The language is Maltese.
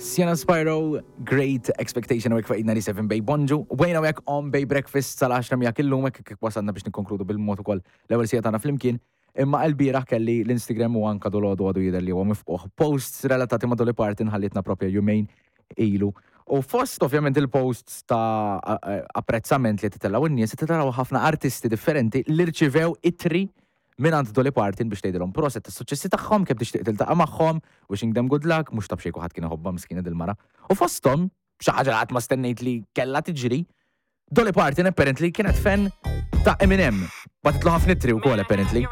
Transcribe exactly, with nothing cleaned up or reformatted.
Sienna Spiro, Great Expectation u fuq ninety-seven Bay Bonġu. U bejna u on Bay Breakfast sal-għaxra miegħek illum, hekk kif wasalna biex nikkonkludu bil-mod ukoll l-ewwel siegħa tagħna flimkien. Imma l-bieraħ kelli l-Instagram u anka dalgħodu għadu jidher li huwa mifqugħ posts relatati ma' Dolly Parton, ħallitna propja jumejn ilu. U fost ovvjament il-posts ta' apprezzament li titellaw in-nies, titellaw ħafna artisti differenti li rċivew ittri minn Dolly Parton biex tgħidilhom proset tas-suċċessi tagħhom, kemm tixtieq tiltaqa' magħhom, wishing them good luck, mhux ta' b'xejn kulħadd kien iħobbha miskina dil-mara. U fosthom, xi ħaġa li qatt ma stennejt li kellha tiġri, Dolly Parton apparently kienet fan ta' Eminem. Bagħtitlu ħafna ittri wkoll apparently.